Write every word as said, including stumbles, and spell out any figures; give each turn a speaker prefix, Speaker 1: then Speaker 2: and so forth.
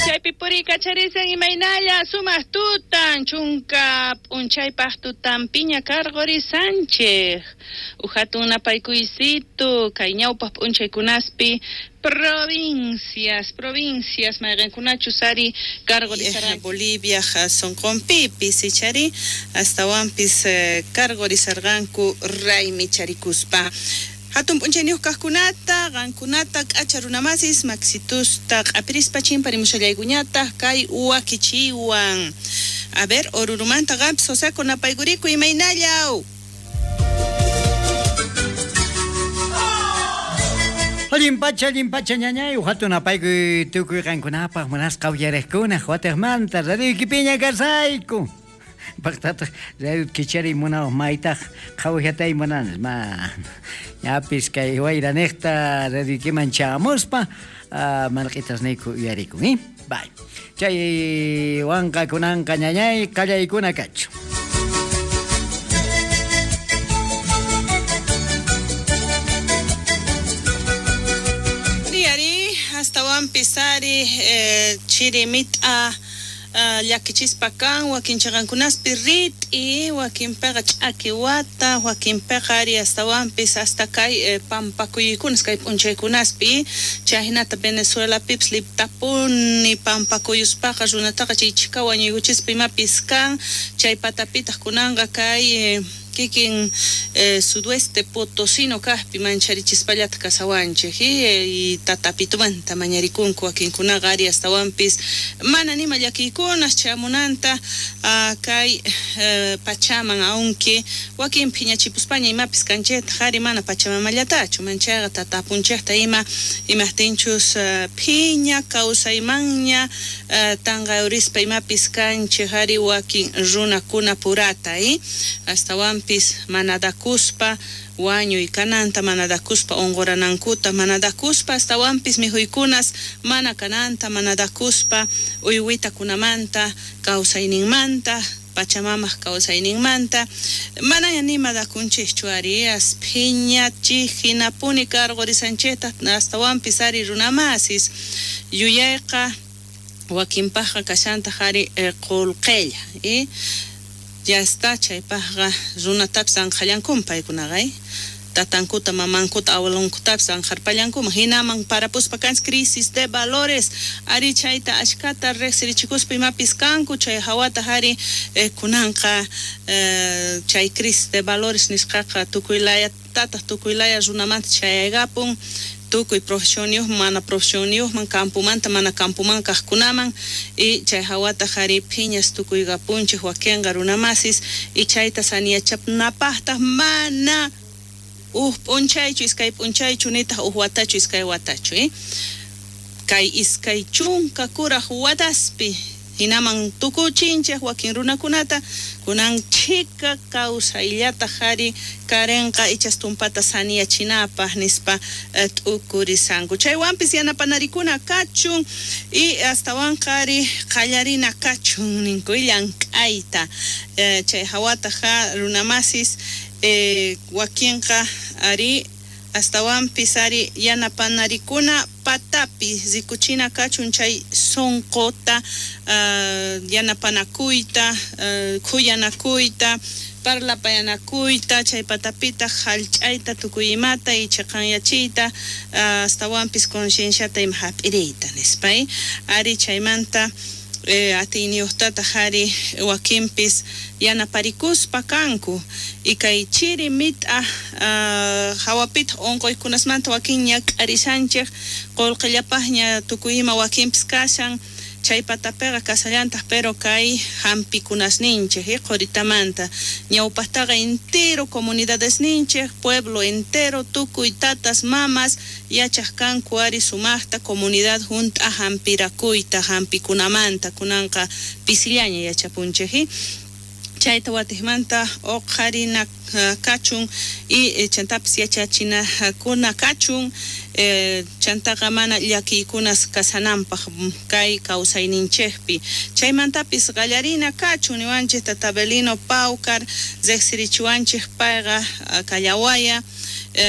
Speaker 1: Chaypi puriykacharisan imaynalla sumaq tutan chunka p'unchaypaq tutanpiña karqurisanchik uhatun napaykuysito kay ñawpaq p'unchaykunaspi provincias provincias mayqinkunachus ari karqurisarqan
Speaker 2: Bolivia sonqonpipis ichari astawanpis karqurisarqanku raymicharikuspa. Hatun p'unchayniyuq kaqkunata, qankunata, k'acha runamasis, maxitusta, q'apirispa chimparimushallaykuñataq kay wakichiwan. A ver, Orurumanta qampis Joseco napaykuriku imaynallaw.
Speaker 3: Allin pacha, allin pacha, ñañay, hatun napaykuy tukuy qankunapaq munasqa uyariqkuna, wataqmanta radioykipiña kasayku. Paqtataq radio kichari munawaq maytaq qhawajatay munanas ma ñapis kay wayranejta radioykiman chamuspa marq'itasniyku uyarikun eh bye chay wanqa kunanqa ñañay qallaykuna kachu.
Speaker 2: Ari astawanpis ari eh, chiri mit'a llakichispa kan wakin chaqankunaspi rit'i wakinpiqa ch'aki wata wakinpiqa ari astawanpis hasta kay eh, pampakuykunas kay p'unchaykunaspi chayhinata Venezuelapipis liptapuni pampakuyuspaqa runataqa chay chhika wañuykuchispa imapis kan chay patapitaq kunanqa kay eh, kikin eh, sudoeste potosino kaqpi mancharichispallata kasawanchik y tatapitumanta mañarikunku wakinkunaqa ari astawanpis mana nima llakiykunas chamunanta uh, kay eh, pachaman aunque wakin phiñachipuspaña imapis kanchaytaq ari mana pachamamallatachu manchayqa tatapunchikta ima imaqtinchus uh, phiña kawsaymanña uh, tanqayurispa imapis kanchik ari wakin runakuna purata eh? Astawanpis manadakuspa wañuy kananta manadakuspa unquranankuta manadakuspa astawanpis mikhuykunas mana kananta manadakuspa uywitakunamanta kawsayninmanta pachamamaq kawsayninmanta manaña nima dakunchikchu ari as phiñachik hinapuni karqurisanchikta astawanpis ari runamasis yuyayqa wakinpaqqa kashantaq ari qullqilla eh? Ya está chaypaqqa runatapis anqhallankuman paykunaqa eh? Tatankuta mamankuta abuelonkutapis anqharpallankuman hinaman parapuspa kanchik crisis de valores ari chayta ashkata riqsirichikuspa imapis kanku chay hawataq ari eh, kunanqa eh, chay crisis de valores nisqaqa tukuy laya tataq tukuy laya runamanta chayaykapun tukuy profesionniyuqman mana profesionniyuqman campumanta mana campuman kaqkunaman y chay hawataq ari phiñas tukuykapunchik wakinqa runamasis y chayta saniyachapnapaqtaq mana uj p'unchaychu iskay p'unchaychu nitaq uj watachu iskay watachu eh? Kay iskay chunka kuraq wataspi hinaman tukuchinchik wakin runakunata kunan chhika kawsayllataq ari karenqa ichas tumpata saniyachinapaq nispa eh, t'ukurisanku chaywanpis yanapanarikuna kachun y astawanqa ari qallarina kachun ninku llank'ayta eh, chay hawataq runamasis eh, wakinqa ari astawanpis ari yanapanarikuna patapi rikuchina kachun chay sonqota uh, yanapanakuyta uh, khuyanakuyta parlapayanakuyta chay patapitaq hallch'ayta tukuy imata y chaqanyachiyta uh, astawanpis concienciata ima hap'iriyta nispa eh? Ari chaymanta eh, atiyniyuqtataq ari wakinpis yanaparikuspa kanku y kay chiri mit'a uh, hawapitaq unquykunasmanta wakin ñak'arisanchik qullqillapaqña tukuy ima wakinpis kashan chay patapiqa kasallantaq pero kay hampikunasninchik eh, quritamanta ñawpaqtaqa entero comunidadesninchik pueblo entero tukuy tatas mamas yachaq kanku ari sumaqta comunidad hunt'a hampirakuyta hampikunamanta kunanqa pisillaña yachapunchik eh? Chayta watiqmanta uqharina kachun y chantapis yachachinakuna kachun eh, chantaqa mana llakiykunas kasananpaq kay kawsayninchikpi chaymantapis qallarina kachun niwanchik Tata Belino Paucar riqsirichiwanchik payqa kallawaya